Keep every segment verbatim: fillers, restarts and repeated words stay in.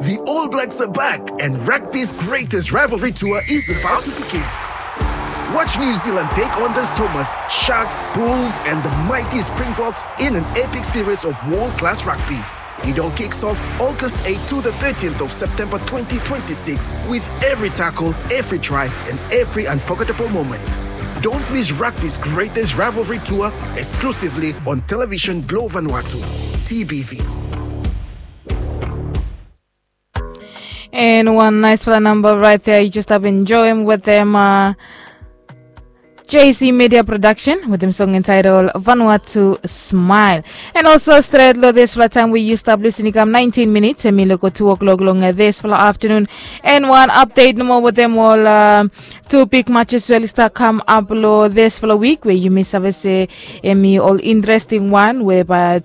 The All Blacks are back, and rugby's greatest rivalry tour is about to begin. Watch New Zealand take on the Stormers, Sharks, Bulls, and the mighty Springboks in an epic series of world class rugby. It all kicks off August eighth to the thirteenth of September twenty twenty-six, with every tackle, every try, and every unforgettable moment. Don't miss rugby's greatest rivalry tour, exclusively on Television Globe Vanuatu, T B V. And one nice fala number right there. You just have enjoy him with them. Uh, J C Media Production with them song entitled Vanuatu Smile. And also straight lo this fala time we used up listening come nineteen minutes. And me look two o'clock long this fala afternoon. And one update no more with them all. Uh, two big matches will start come up lo this fala week where you may have say emi all interesting one whereby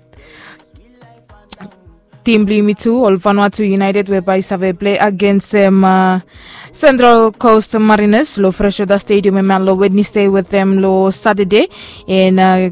Team Blue Me two, ol Vanuatu United, whereby i save play against um, uh, Central Coast Mariners lo Freshwater Stadium, em lo Wednesday with them lo Saturday. And uh,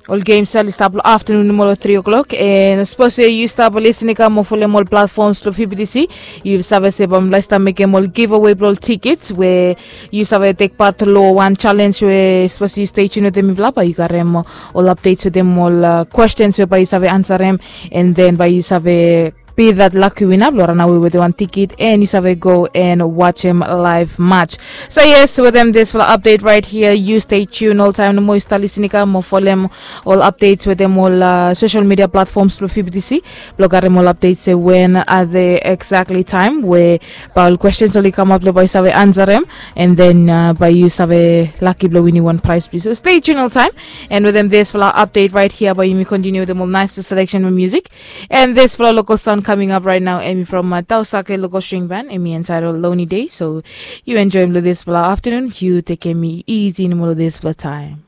ol games ali stap lo afternoon mo lo three o'clock. And suppose you stap listening ka mo folem ol platforms lo F B T C, you save se bam lasta mekem ol giveaway blo ol tickets where you save take part lo one challenge where suppose you stay tuned with them if lapa you got them ol updates with them ol uh, questions whereby you save answer them and then by you save be that lucky winner blo run away with one ticket and you save go and watch him live match. So yes, with them this fala update right here. You stay tuned all time no more you start listening ka mo folem ol updates with them ol uh, social media platforms blo F B T C blo got them ol updates say when are the exactly time where by ol questions oli come up lo by you save answer them and then uh, by you save lucky blo winning one prize please. So stay tuned all time. And with them this fala update right here by you me continue with them all nice selection of music. And this fala local sound coming up right now, Emi from uh, Tausake local string band, Emi entitled Lonely Day. So you enjoy him this fala afternoon. You take me easy in the middle of this fala time.